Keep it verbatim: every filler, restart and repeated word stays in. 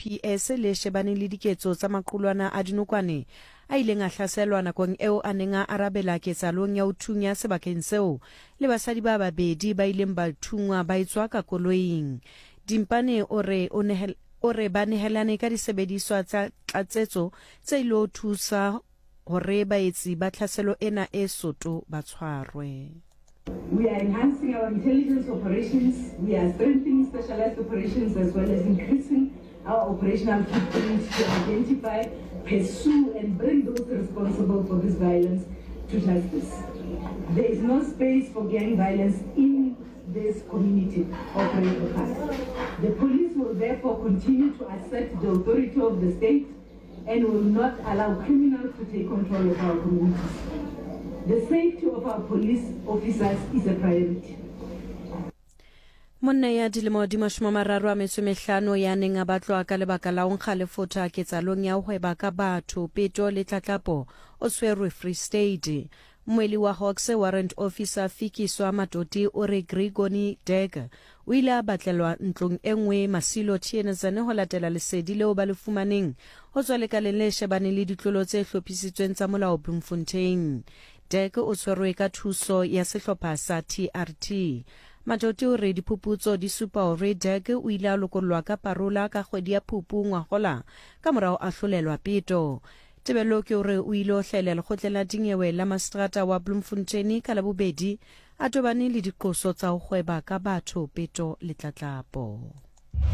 S A P S le shebaneng le diketso tsa maqulwana a dinokwane a ileng a hlaselwa nakong eo a neng a arabela ketsahalong ya ho thunya sebakeng seo le basadi ba babedi ba ileng ba thungwa ba etswa ka koloing. Dimpane o re o nehel o re ba nehelane ka disebediswa tsa tlatsetso tse ilo thusa hore baetsi ba tlhaselo ena e soto ba tshwarwe. We are enhancing our intelligence operations, we are strengthening specialized operations as well as increasing our operational footprint to identify, pursue and bring those responsible for this violence to justice. There is no space for gang violence in this community of Reiger Park. The police will therefore continue to assert the authority of the state and will not allow criminals to take control of our communities. The safety of our police officers is a priority. Monna ya dilemo di mashome a mararo a metso e mehlano ya neng a batlwa ka lebaka la ho nkga lefotha ketsahalong ya ho hweba ka batho, peto le tlatlapo o tshwerwe Free State. Mmuelli wa Hawks Warrant Officer Fikiswa Matoti o re Gregony Deg o ile a batlelwa ntlong e nngwe Masilo Theunissen ho latela lesedi leo ba le fumaneng ho tswa lekaleng le shebaneng le ditlolo tse hlophisitsweng tsa molao Bloemfontein. Deg o tshwerwe ka thuso ya sehlopha sa T R T. Matoti o re diphuputso di supa hore Deg o ile a lokollwa ka parola ka kgwedi ya Phupu ngwahola ka morao a hlolelwa peto. Tebello ke hore o ile ho hlahela lekgotleng la dinyewe la maseterata wa Bloemfontein ka Labobedi a tobane le diqoso tsa ho hweba ka batho, peto le tlatlapo.